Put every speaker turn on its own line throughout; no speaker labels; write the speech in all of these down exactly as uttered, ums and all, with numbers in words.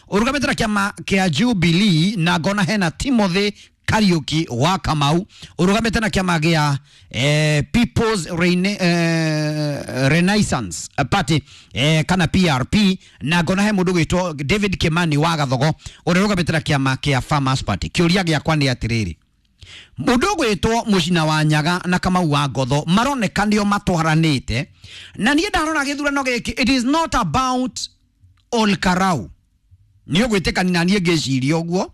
Ũrũgamĩte na kĩama kĩa Jubilee, na ngona hena Timothy Kariuki wa Kamau ũrũgamĩte na kĩama gĩa eh, People's Rene, eh, Renaissance Party eh, kana P R P, na ngona he mũndũ gwĩtwo David Kimani wa Gathogo ũrĩa ũrũgamĩte na kĩama kĩa Farmers Party. Kĩũria gĩakwa nĩ atĩrĩrĩ, mũndũ ũgwĩtwo Mũcina wa Nyaga na Kamau wa Ngotho maroneka nĩo matwaranĩte, na niĩ ndarora gĩthurano gĩkĩ, it is not about Ol Kalou. Nĩ ũgwĩtĩkania na niĩ ngĩciria ũguo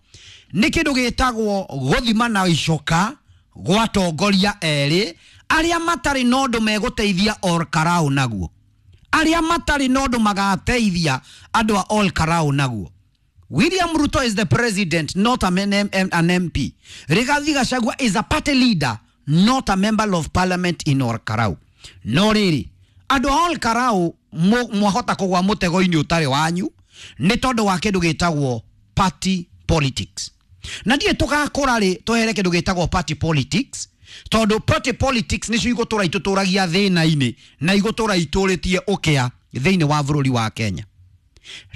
nĩ kĩndũ gĩtagwo gũthima na icoka gwa atongoria erĩ arĩa matarĩ na ũndũ megũteithia Ol Kalou naguo, arĩa matarĩ na ũndũ magateithia andũ a Ol Kalou naguo. William Ruto is the president, not a an M P. Rigathi Gachagua is a party leader, not a member of parliament in Ol Kalou. No rĩrĩ, andũ a Ol Kalou mwahota kũgwa mũtego-inĩ ũtarĩ wanyu nĩ tondũ wa kĩndũ gĩtagwo party politics. Na ndiĩ tũgakũra rĩ twehere kĩndũ gĩtagwo party politics, tondũ party politics nĩcio igũtũra itũtũragia thĩna-inĩ na igũtũra itũrĩtie ũkĩa thĩinĩ wa bũrũri wa Kenya.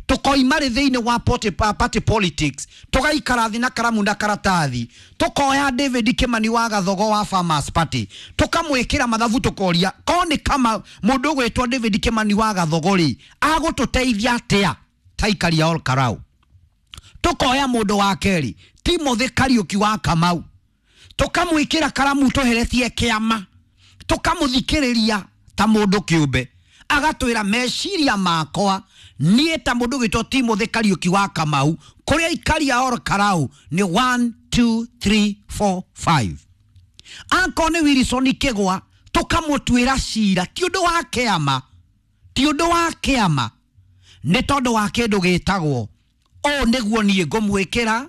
Tukoima rĩ thĩinĩ wa party, party politics, tũgaikara thĩ na karamu na karatathi, tũkoya David Kimani wa Gathogo wa Farmers Party, tũkamwĩkĩra mathabu, tũkoria ko nĩ kama mũndũ ũgwĩtwo David Kimani wa Gathogo rĩ agũtũteithia atĩa ta aikari a Ol Kalou. Tukoya mũndũ wa kerĩ Timothy Kariuki wa Kamau, tũkamwĩkĩra karamu tũheretie kĩama, tũkamũthikĩrĩria ta mũndũ kĩũmbe, agatwĩra meciria makwa niĩ ta mũndũ ũgwĩtwo Timothy Kariuki wa Kamau kũrĩa aikari a Ol Kalou nĩ one two three four five. Akorwo nĩ Wilson Kĩgwa tũkamũtuĩra cira ti ũndũ wa kĩama, ti ũndũ wa kĩama, nĩ tondũ wa kĩndũ gĩtagwo ũũ nĩguo niĩ ngũmwĩkĩra,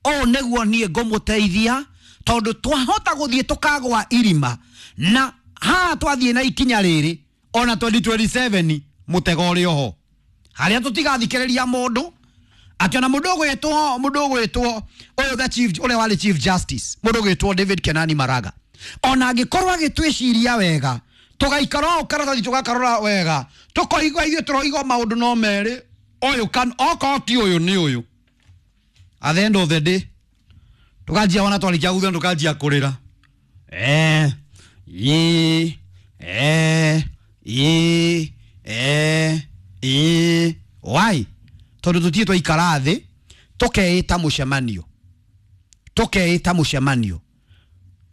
ũũ nĩguo niĩ ngũmũteithia, tondũ twahota gũthiĩ tũkagwa irima na haha twathiĩ na ikinya rĩrĩ ona twenty twenty-seven mũtego ũrĩ oho harĩa tũtigathikĩrĩria mũndũ atĩ ona mũndũ ũgwĩtwo, mũndũ ũgwĩtwo ũyũ the chief, ũrĩa warĩ chief justice, mũndũ ũgwĩtwo David Kenani Maraga, ona angĩkorwo agĩtwĩciria wega tũgaikara o karatathi tũgakarora wega tũkoigua ithuĩ tũroigua maũndũ no merĩ, ũyũ kan okorwo ti ũyũ nĩ ũyũ. At the end of the day tũkanjia wona twarĩkia gũthurana tũkanjia kũrĩra eh ĩ eh ĩ eh ĩ why, tondũ tũtirĩ twaikara thĩ tũkeĩta mũcemanio, tũkeĩta mũcemanio,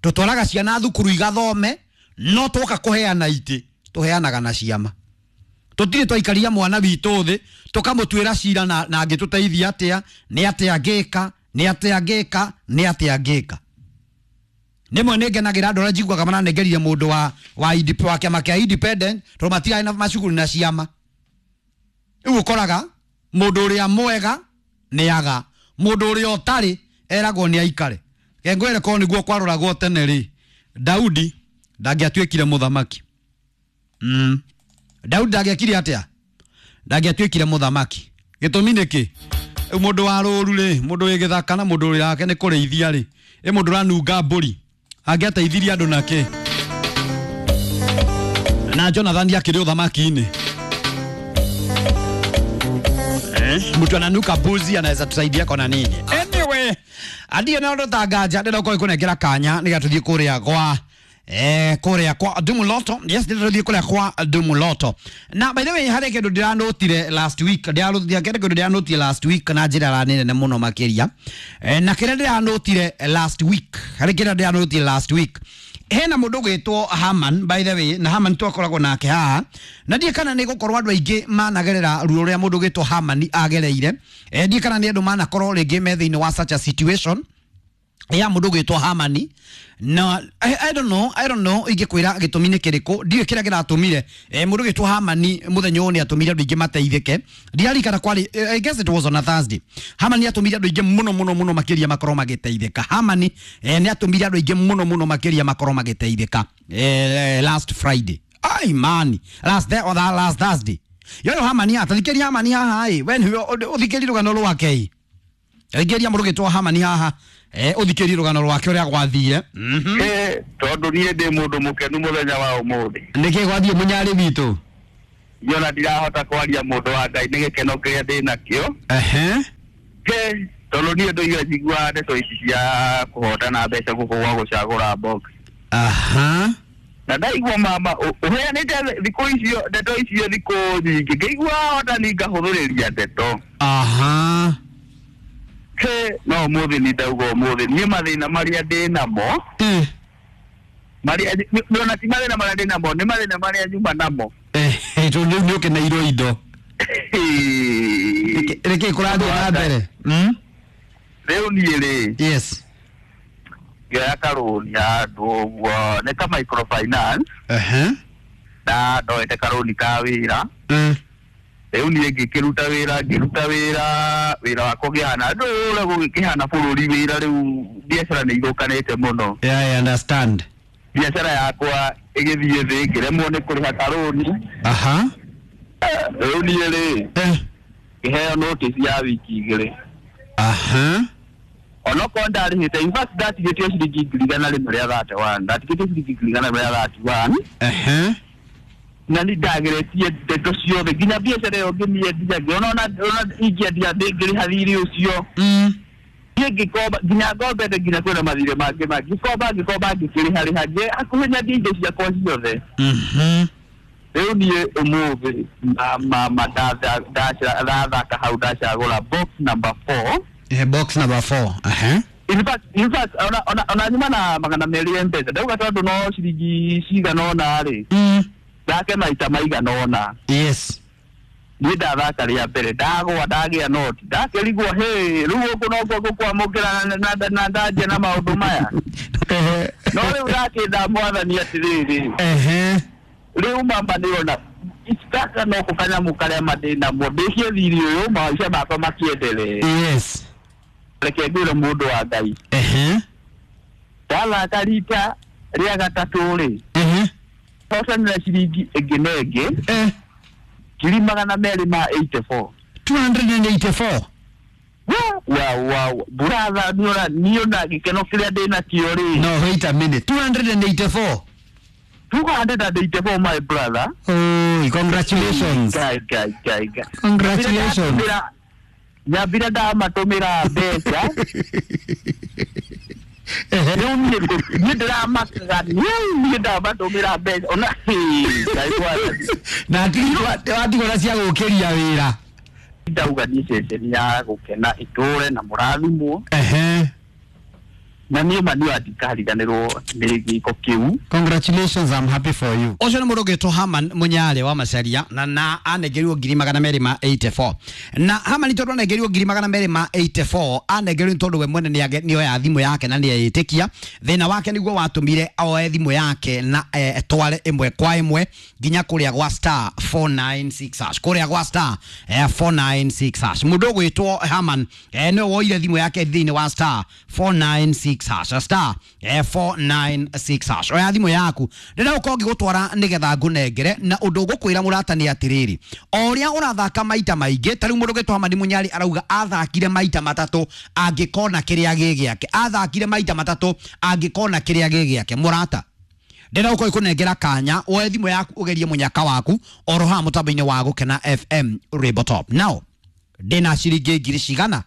tũtwaraga ciana thukuru igathome, no twoka kũheana itĩ tũheanaga na ciama. Tũtirĩ twaikaria mwana witũ thĩ tũkamũtuĩra cira na, na angĩtũteithia atĩa, nĩ atĩa angĩka, nĩ atĩa angĩka, nĩ atĩa angĩka. Rĩmwe nĩ ngenagĩra andũ arĩa njiguaga maranengerire mũndũ wa, wa I D P, wa kĩama kĩa independent, tondũ matirarĩ na macukuru na ciama. Rĩu ũkoraga mũndũ ũrĩa mwega nĩ aga, mũndũ ũrĩa ũtarĩ eragwo nĩ aikare. Reke ngwĩre korwo nĩguo kwaroragwo tene rĩ, Daudi ndangĩatuĩkire mũthamaki. Mm. Daudi ndangĩekire atĩa? Ndangĩatuĩkire mũthamaki. Gĩtũmi nĩ kĩ? Rĩu mũndũ wa rũru rĩ, mũndũ wĩ gĩthaka na mũndũ ũrĩa wake nĩ kũrĩithia rĩ, ĩ mũndũ ũranunga mbũri, angĩateithirie andũ na kĩ? Na Jonathan akĩrĩ ũthamaki-inĩ. Eh? Mtu ananuka mbuzi anaweza tusaidia kona nini? Anyway, adie na ndo tanganja ndĩrenda gũkorwo ngĩkũnengera kanya nĩgetha tũthiĩ kũrĩa gwa eh kũrĩa kwa Dumuloto. Yes, ndĩrenda tũthiĩ kũrĩa kwa Dumuloto. Na by the way, harĩ kĩndũ ndĩranotire last week, ndĩranotire kĩndũ ndĩranotire last week na njĩra ra nene mũno makĩria. Eh, na kĩrĩa ndĩranotire last week, harĩ kĩrĩa ndĩranotire last week, hena mũndũ ũgwĩtwo Haman, by the way, na Haman twakoragwo nake haha, na ndiĩ kana nĩ gũkorwo andũ aingĩ managerera ruo rũrĩa mũndũ ũgwĩtwo Haman agereire. Eh, ndiĩ kana nĩ andũ manakorwo rĩngĩ me thĩinĩ wa such a situation ya mũndũ ũgwĩtwo Hamani. Na I, I don't know, I don't know ingĩkwĩra gĩtũmi nĩ kĩrĩkũ, ndiũĩ kĩrĩa kĩratũmire eh, mũndũ ũgwĩtwo Hamani mũthenya ũyũ nĩ atũmire andũ aingĩ mateithĩke. Ndiririkana kwarĩ, eh, I guess it was on a Thursday. Hamani atũmire andũ aingĩ mũno mũno mũno makĩria makorwo magĩteithĩka. Hamani eh, nĩ atũmire andũ aingĩ mũno mũno makĩria makorwo magĩteithĩka eh, last Friday. Ai man, last day or that last Thursday. Yoyo Hamani atathikĩria Hamani haha ĩ, we nĩwe ũthikĩrie rũgano rwake ĩ. Thikĩria mũndũ ũgwĩtwo Hamani haha. Eh, ũthikĩrie rũgano rwake ũrĩa gwathire. Mhm.
Eh, tondũ niĩ ndĩ mũndũ mũkenu mũthenya wa ũmũthĩ.
Nĩkĩ gwathiĩ mũnyarĩ witũ?
Niĩ ona ndirahota kwaria mũndũ wa Ngai nĩ gĩkeno kĩrĩa ndĩ nakĩo.
Ehe.
He tondũ niĩ ndoiga njiguaga ndeto ici cia kũhotana mbeca gũkũ gwa gũcagũra box.
Aha.
Na ndaigua mama ũheanĩte thikũ icio ndeto icio thikũ nyingĩ, ngĩigua hotani ngahũthũrĩria ndeto.
Aha.
He no ũmũthĩ nĩ ndauga ũmũthĩ niĩ mathĩna marĩa ndĩ namo
Eh.
marĩa ona ti mathĩna marĩa ndĩ namo, nĩ mathĩna marĩa nyuma namo.
Eh, tondũ rĩu nĩ ũkeneirwo indo. Nĩkĩ kũrathiĩ na mbere? Mm?
Rĩu niĩ rĩ,
Yes.
ngĩoya karũni handũ ũguo nĩ ka microfinance.
Aha.
Na ndoete karũni ka wĩra.
Mm.
Rĩu niĩ ngĩkĩruta wĩra, ngĩruta wĩra, wĩra wakwa ũkĩhana ndũ ũrĩa gũgĩkĩhana bũrũri wĩra rĩu biacara nĩ ithũkanĩte mũno.
Yeah, I understand.
Biacara yakwa ĩgĩthiĩ thĩ, ngĩremwo nĩ kũrĩha karũni.
Aha.
Rĩu niĩ rĩ,
Eh.
ngĩheo notice ya wiki igĩrĩ.
Aha.
Onokorwo ndarĩhĩte, in fact ndatigĩtio ciringi ngiri igana rĩmwe rĩa thirty one, ndatigĩtio ciringi ngiri igana rĩmwe rĩa thirty one.
Aha.
Na nĩ ndageretie ndeto ciothe nginya biacara ĩyo ngĩmĩendia, ngĩona ona ona ingĩendia ndĩngĩrĩha thirĩ ũcio.
Mm.
Niĩ ngĩkomba nginya ngombete nginya kwĩna mathirĩ mangĩ mangĩ, ngĩkomba ngĩkomba ngĩkĩrĩha rĩha ngĩ hakuhĩ nyendie indo ciakwa ciothe.
Mhm.
Rĩu niĩ ũmũthĩ mama ndathaka hau ndacagũra box number four.
Eh, box number four. Aha.
In fact, in fact, ona ona ona nyuma na magana merĩ M-Pesa ndauga tondũ no ciringi cigana ũna rĩ,
Mm.
thake maita maigana ũna.
Yes.
Niĩ ndathaka rĩa mbere ndagwa ndagĩa noti ndakĩrigwo hĩ rĩu gũkũ nokuo ngũkwamũkĩra na- na na ndanjia na maũndũ maya. No rĩu ndakĩnda mwathani atĩrĩrĩ,
Ehe.
rĩu mama nĩrona gaka noko kanyamũ karĩa ma ndĩnamo ndĩkie thirĩ ũyũ maica makwa makĩendelee.
Yes.
Reke ngwĩre mũndũ wa Ngai,
Ehe.
ndathaka rita rĩa gatatũ rĩ,
Ehe.
hotanĩra ciringi ĩngĩ na ĩngĩ
Eh.
ngiri magana merĩ ma eighty four.
two hundred eighty four.
Wa wa buratha niona niona gĩkeno kĩrĩa ndĩnakĩo rĩ.
No, wait a minute. two hundred eighty four.
two hundred eighty four my brother.
Oh, congratulations.
Kai kai kai kai.
Congratulations.
Nyambire ndamatũmĩra mbeca. Rĩu niĩ niĩ ndĩramakaga niĩ ndamatũmĩra mbeca ona Ngai mwathani.
Na watigwo na cia gũkĩria wĩra.
Ndauga niĩ ceceni ya gũkena ĩtũre na mũrathimwo.
Ehe.
Na niĩ ma niĩ ndikariganĩrwo nĩ gĩko kĩu.
Congratulations, I'm happy for you. Ũcio nĩ mũndũ ũgĩtwo Haman Mũnyarĩ wa Macaria na na anengerirwo ngiri magana merĩ ma eighty four. Na Haman tondũ anengerirwo ngiri magana merĩ ma eighty four, anengerirwo nĩ tondũ we mwene nĩ oya thimũ yake na nĩ eyĩtĩkia. Thĩna wake nĩguo watũmire oe thimũ yake na etware ĩmwe kwa ĩmwe nginya kũrĩa gwa star four nine six hash. Kũrĩa gwa star four nine six hash. Mũndũ ũgwĩtwo Haman nĩwe woire thimũ yake thĩinĩ wa star four nine six hash. Star four nine six hash. Oya thimũ yaku ndĩrenda gũkorwo ngĩgũtwara nĩgetha ngũnengere na ũndũ ngũkwĩra mũrata nĩ atĩrĩrĩ, o ũrĩa ũrathaka maita maingĩ ta rĩu mũndũ ũgĩtwo Hamani Mũnyarĩ arauga athakire maita matatũ angĩkona kĩrĩa gĩ gĩake, athakire maita matatũ angĩkona kĩrĩa gĩ gĩake. Mũrata, ndĩrenda gũkorwo ngĩkũnengera kanya woe thimũ yaku ũgerie mũnyaka waku oro haha mũtambo-inĩ wa Gũkena F M Rainbow Top. Now ndĩna ciringi ngiri cigana?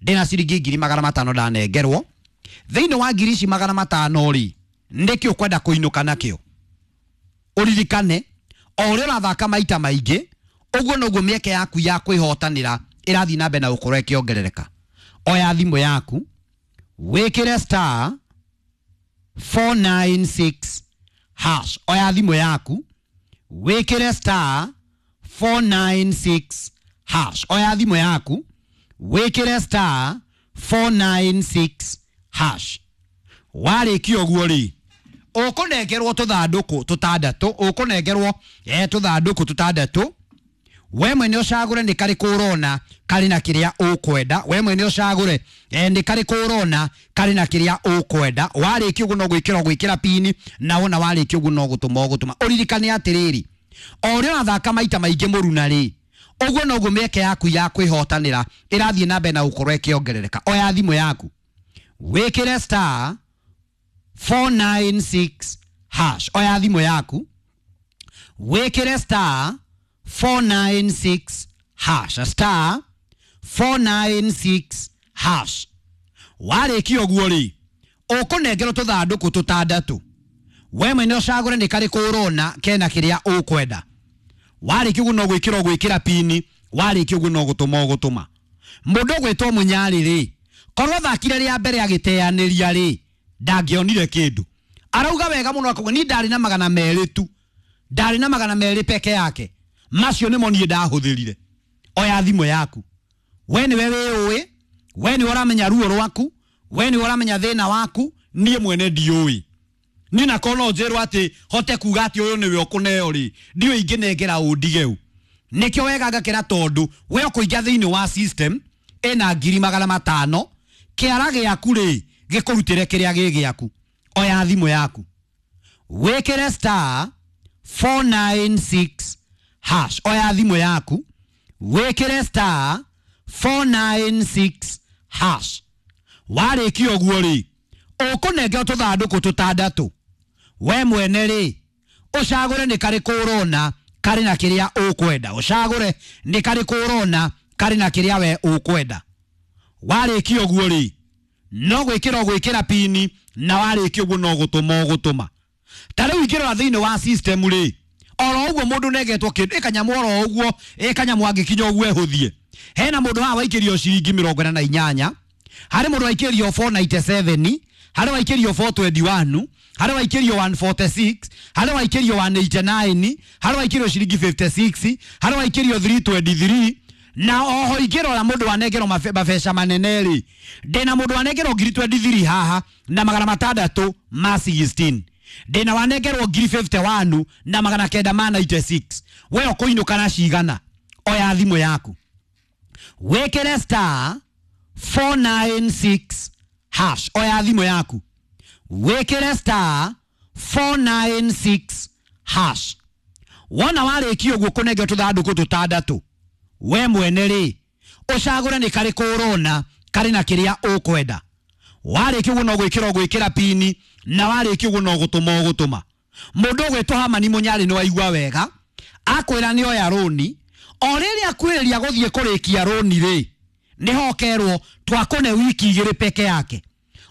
Ndĩna ciringi ngiri magana matano ndanengerwo. Thĩinĩ wa ngiri ici magana matano rĩ, nĩkĩ ũkwenda kũinũka nakĩo? Ũririkane o ũrĩa ũrathaka maita maingĩ ũguo noguo mĩeke yaku ya kwĩhotanĩra ĩrathiĩ na mbere na gũkorwo ĩkĩongerereka. Oya thimũ yaku wĩkĩre star four nine six hash. Oya thimũ yaku wĩkĩre star four nine six hash. Oya thimũ yaku wĩkĩre star four nine six hash. Warĩkia ũguo rĩ, ũkũnengerwo tũthandũkũ tũtandatũ, ũkũnengerwo eh tũthandũkũ tũtandatũ. We mwene ũcagũre nĩ karĩkũ ũrona karĩ na kĩrĩa ũkwenda. We mwene ũcagũre eh nĩ karĩkũ ũrona karĩ na kĩrĩa ũkwenda. Warĩkia ũguo no gwĩkĩra gwĩkĩra pini, na wona warĩkia ũguo no gũtũma ũgũtũma. Ũririkane atĩrĩrĩ, o ũrĩa ũrathaka maita maingĩ mũruna rĩ, ũguo noguo mĩeke yaku ya kwĩhotanĩra ĩrathiĩ na mbere na gũkorwo ĩkĩongerereka. Oya thimũ yaku wĩkĩre star four nine six hash. Oya thimũ yaku wĩkĩre star four nine six hash. Star four nine six hash. Warĩkia ũguo rĩ, ũkũnengerwo tũthandũkũ tũtandatũ. We mwene ũcagũre nĩ karĩkũ ũrona kena kĩrĩa ũkwenda. Warĩkia ũguo no gwĩkĩra ũgwĩkĩra pini, warĩkia ũguo no gũtũma ũgũtũma. Mũndũ ũgwĩtwo Mũnyarĩ rĩ, korwo thakire rĩa mbere agĩteanĩria rĩ, ndangĩonire kĩndũ. Arauga wega mũno akauga ni ndarĩ na magana merĩ tu, ndarĩ na magana merĩ peke yake, macio nĩmo niĩ ndahũthĩrire. Oya thimũ yaku, we nĩwe wĩũĩ, we nĩwe ũramenya ruo rwaku, we nĩwe ũramenya thĩna waku, niĩ mwene ndiũĩ. Niĩ nakorwo no njĩrwo atĩ hote kuga atĩ ũyũ nĩwe ũkũneo rĩ, ndiũĩ ingĩnengera ũndigeu. Nĩkĩo wega ngakĩra tondũ we ũkũingĩra thĩinĩ wa system ĩna ngiri magana matano, kĩara gĩaku rĩ gĩkũrutĩre kĩrĩa gĩ gĩaku. Oya thimũ yaku, wĩkĩre star four nine six hash. Oya thimũ yaku, wĩkĩre star four nine six hash. Warĩkia ũguo rĩ, ũkũnengerwo tũthandũkũ tũtandatũ. We mwene rĩ, ũcagũre nĩ karĩkũ ũrona karĩ na kĩrĩa ũkwenda. Ũcagũre nĩ karĩkũ ũrona karĩ na kĩrĩa we ũkwenda. Warĩkia ũguo rĩ, no gwĩkĩra ũgwĩkĩra pini, na warĩkia ũguo no gũtũma ũgũtũma. Ta rĩu ingĩrora thĩinĩ wa system rĩ, oro ũguo mũndũ nengetwo kĩndũ, ĩkanyamũ oro ũguo, ĩkanyamũ angĩkinya ũguo ĩhũthie. Hena mũndũ haha waikĩrio ciringi mĩrongo ĩna na inyanya, harĩ mũndũ waikĩrio four ninety seven, harĩ waikĩrio four twenty one, harĩ waikĩrio one forty six, harĩ waikĩrio one eighty nine, harĩ waikĩrio ciringi fifty six, harĩ waikĩrio three twenty three. Na oho ingĩrora mũndũ wanengerwo mabeca manene rĩ, ndĩna mũndũ wanengerwo ngiri twenty three haha na magana matandatũ ma sixteen, ndĩna wanengerwo ngiri fifty one na magana kenda ma ninety six. We ũkũinũka na cigana? Oya thimũ yaku, wĩkĩre star four nine six hash. Oya thimũ yaku, wĩkĩre star four nine six hash. Wona warĩkia ũguo kũnengerwo tũthandũkũ tũtandatũ, we mwene rĩ, ũcagũre nĩ karĩkũ ũrona karĩ na kĩrĩa ũkwenda. Warĩkia ũguo no gwĩkĩra ũgwĩkĩra pini, na warĩkia ũguo no gũtũma ũgũtũma. Mũndũ ũgwĩtwo Hamani Mũnyarĩ nĩ waigua wega, akwĩra nĩ oya rũni, o rĩrĩa akwĩrĩria gũthiĩ kũrĩkia rũni rĩ, nĩho ũkerwo twakũne wiki igĩrĩ peke yake,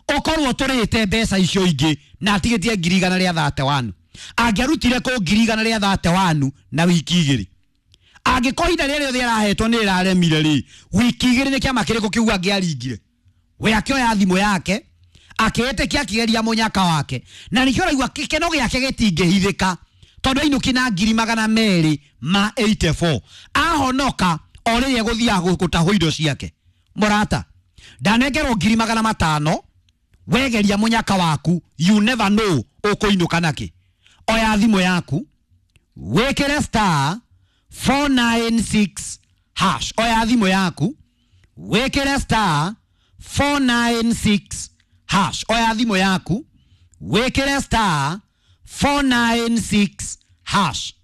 ũkorwo tũrĩte mbeca icio ingĩ na atigĩtie ngiri igana rĩa thirty one. Angĩarutire kũ ngiri igana rĩa thirty one na wiki igĩrĩ, angĩkorwo ihinda rĩrĩa rĩothe arahetwo nĩ rĩraremire rĩ, wiki igĩrĩ nĩ kĩama kĩrĩkũ kĩu angĩaringire? We akĩoya thimũ yake akĩĩtĩkia akĩgeria mũnyaka wake, na nĩkĩo ũraigua gĩkeno gĩake gĩtingĩhithĩka, tondũ ainũki na ngiri magana merĩ ma eighty four. Ahonoka o rĩrĩa egũthiaga gũtahwo indo ciake. Mũrata, ndanengerwo ngiri magana matano, wegeria mũnyaka waku, you never know ũkũinũka nakĩ. Oya thimũ yaku, wĩkĩre star four nine six hash. Oya thimũ yaku, wĩkĩre star four nine six hash. Oya thimũ yaku, wĩkĩre star four nine six hash.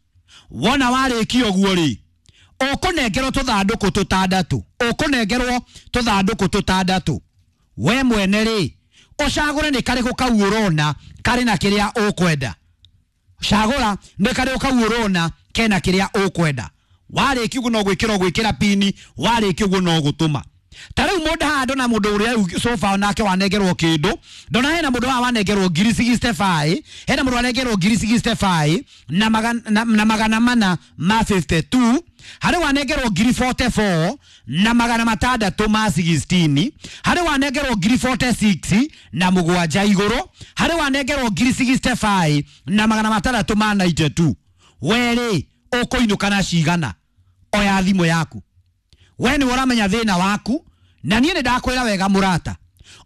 Wona warĩkia ũguo rĩ, ũkũnengerwo tũthandũkũ tũtandatũ, ũkũnengerwo tũthandũkũ tũtandatũ. We mwene rĩ, ũcagũre nĩ karĩkũ kau ũrona karĩ na kĩrĩa ũkwenda. Cagũra nĩ karĩkũ kau ũrona kena kĩrĩa ũkwenda. Warĩkia ũguo no gwĩkĩra ũgwĩkĩra pini, warĩkia ũguo no gũtũma. Ta rĩu mũndũ haha ndona mũndũ ũrĩa sofa onake wanengerwo kĩndũ, ndona hena mũndũ haha wanengerwo ngiri sixty five, hena mũndũ wanengerwo ngiri sixty five na magana, na, na magana mana ma fifty two, harĩ wanengerwo ngiri forty four na magana matandatũ ma sixteen, harĩ wanengerwo ngiri forty six na mũgwanja igũrũ, harĩ wanengerwo ngiri sixty five na magana matandatũ ma ninety two. We rĩ, ũkũinũka na cigana? Oya thimũ yaku, we nĩwe ũramenya thĩna waku, na niĩ nĩ ndakwĩra wega mũrata,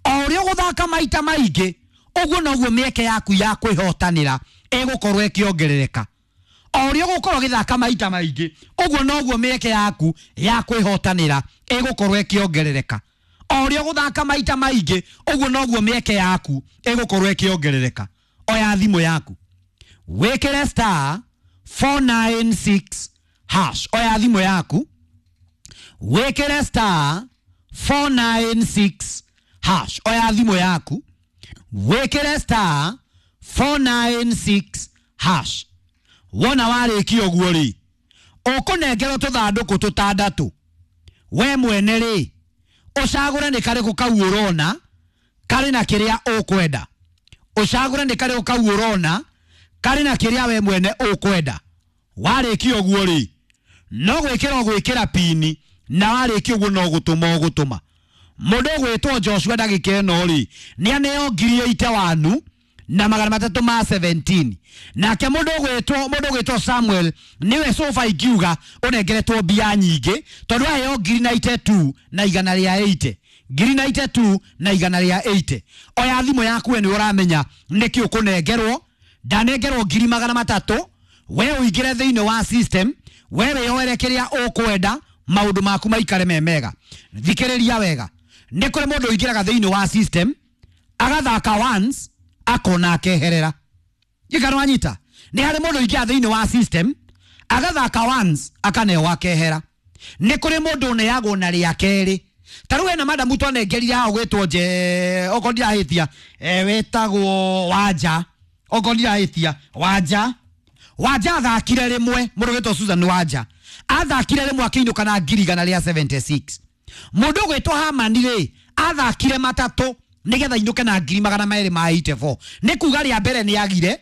o ũrĩa ũgũthaka maita maingĩ ũguo noguo mĩeke yaku ya kwĩhotanĩra ĩgũkorwo ĩkĩongerereka. O ũrĩa ũgũkorwo ũgĩthaka maita maingĩ ũguo noguo mĩeke yaku ya kwĩhotanĩra ĩgũkorwo ĩkĩongerereka. O ũrĩa ũgũthaka maita maingĩ ũguo noguo mĩeke yaku ĩgũkorwo ĩkĩongerereka. Oya thimũ yaku, wĩkĩre star four nine six hash. Oya thimũ yaku, wĩkĩre star four nine six hash. Oya thimũ yaku, wĩkĩre star four nine six hash. Wona warĩkia ũguo rĩ, ũkũnengerwo tũthandũkũ tũtandatũ. We mwene rĩ, ũcagũre nĩ karĩkũ kau ũrona karĩ na kĩrĩa ũkwenda. Ũcagũre nĩ karĩkũ kau ũrona karĩ na kĩrĩa we mwene ũkwenda. Warĩkia ũguo rĩ, no gwĩkĩra ũgwĩkĩra pini, na warĩkia ũguo no gũtũma ũgũtũma. Mũndũ ũgwĩtwo Joshua ndagĩka ĩno rĩ, nĩ aneo ngiri ĩite wanu na magana matatũ ma seventeen. Nake mũndũ ũgwĩtwo, mũndũ ũgwĩtwo Samuel nĩwe sofa ingiuga ũnengeretwo mbia nyingĩ, tondũ aheo ngiri ninety two na igana rĩa eighty. Ngiri ninety two na igana rĩa eighty. Oya thimũ yaku we nĩ ũramenya nĩkĩ ũkũnengerwo. Ndanengerwo ngiri magana matatũ, we ũingĩre thĩinĩ wa system, we wĩyoere kĩrĩa ũkwenda, maũndũ maku maikare me mega. Thikĩrĩria wega, nĩ kũrĩ mũndũ ũingĩraga thĩinĩ wa system agathaka once akona akeherera. Gĩkano wanyita, nĩ harĩ mũndũ ũingĩra thĩinĩ wa system agathaka once akaneo akehera. Nĩ kũrĩ mũndũ ũneagwo na rĩa kerĩ. Ta rĩu hena madamu twanengerire haha ũgwĩtwo nje, okorwo ndirahĩtia, eh, wĩtagwo Wanja, okorwo ndirahĩtia, Wanja. Wanja athakire rĩmwe, mũndũ ũgwĩtwo Susan Wanja athakire rĩmwe akĩinũka na ngiri igana rĩa seventy six. Mũndũ ũgwĩtwo Hamani rĩ, athakire matatũ nĩgetha inũke na ngiri magana merĩ ma eighty four. Nĩ kuga rĩa mbere nĩ agire,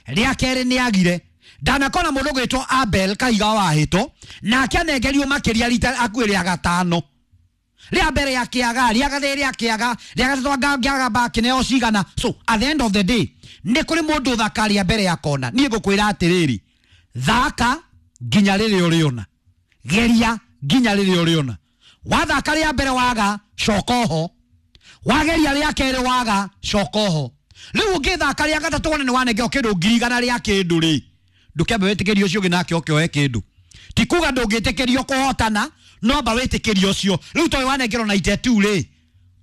rĩa kerĩ nĩ agire. Ndanakona mũndũ ũgwĩtwo Abel Kahiga wa Hĩto, nake anengerio makĩria rita akuĩ rĩa gatano. Rĩa mbere ya kĩaga, rĩa gathĩ rĩa kĩaga, rĩa gatatũ anga ngĩaga bakĩneo cigana. So at the end of the day, nĩ kũrĩ mũndũ ũthaka rĩa mbere ya kona. Niĩ ngũkwĩra atĩrĩrĩ, thaka nginya rĩrĩa ũrĩona, geria nginya rĩrĩa ũrĩona. Wathaka rĩa mbere waga, coka oho. Wageria rĩa kerĩ waga, coka oho. Rĩu ũngĩthaka rĩa gatatũ wone nĩ wanengerwo kĩndũ ngiri igana rĩa kĩndũ rĩ, ndũkĩambe wĩtĩkĩrie ũcio ũngĩ nake oke oe kĩndũ. Ti kuga ndũngĩtĩkĩrio kũhotana, no amba wĩtĩkĩrie ũcio. Rĩu tondũ wanengerwo ninety two rĩ,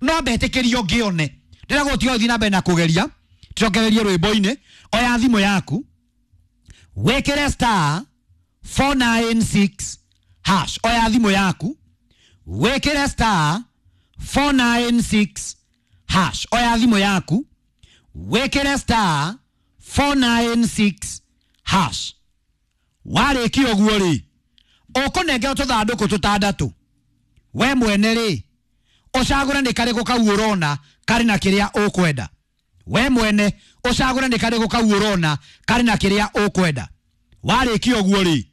no amba ĩtĩkĩrio ngĩone. Ndĩragũtiga ũthiĩ na mbere na kũgeria, tucokererie rwĩmbo-inĩ. Oya thimũ yaku, wĩkĩre star four nine six hash. Oya thimũ yaku, wĩkĩre star four nine six hash. Oya thimũ yaku, wĩkĩre star four nine six hash. Warĩkia ũguo rĩ, ũkũnengerwo tũthandũkũ tũtandatũ. We mwene rĩ, ũcagũre nĩ karĩkũ kau ũrona karĩ na kĩrĩa ũkwenda. We mwene ũcagũre nĩ karĩkũ kau ũrona karĩ na kĩrĩa ũkwenda. Warĩkia ũguo rĩ,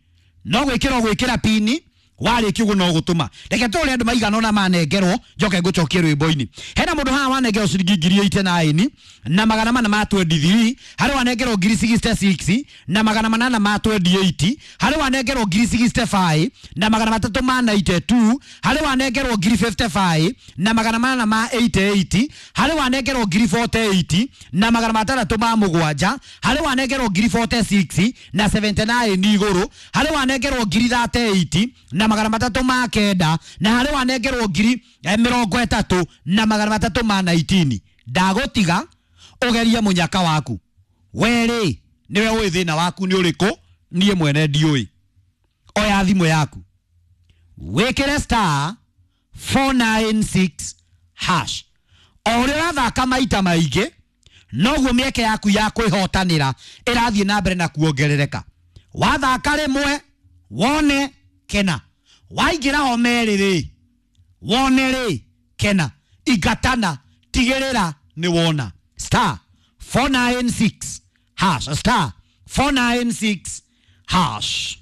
no gwĩkĩra ũgwĩkĩra pini, warĩkia ũguo no gũtũma. Reke tũrore andũ maigana ũna manengerwo, njoke ngũcokie rwĩmbo-inĩ. Hena mũndũ haha wanengerwo ciringi ngiri eighty nine na magana mana ma twenty three, harĩ wanengerwo ngiri sixty six na magana manana ma twenty eight, harĩ wanengerwo ngiri sixty five na magana matatũ ma ninety two, harĩ wanengerwo ngiri fifty five na magana manana ma eighty eight, harĩ wanengerwo ngiri forty eight na magana matandatũ ma mũgwanja, harĩ wanengerwo ngiri forty six na seventy nine igũrũ, harĩ wanengerwo ngiri thirty eight na magana matatũ ma kenda, na harĩ wanengerwo ngiri, eh, mĩrongo ĩtatũ na magana matatũ ma nineteen. Ndagũtiga ũgerie mũnyaka waku. We rĩ, nĩwe ũĩ thĩna waku nĩ ũrĩkũ, niĩ mwene ndiũĩ. Oya thimũ yaku, wĩkĩre star four nine six hash. O ũrĩa ũrathaka maita maingĩ, noguo mĩeke yaku ya kwĩhotanĩra ĩrathiĩ na mbere na kuongerereka. Wathaka rĩmwe, wone kena. Waingĩra ho merĩ rĩ, wone rĩ, kena. Ingatana, tigĩrĩra nĩ wona. Star four nine six hash, star four nine six hash.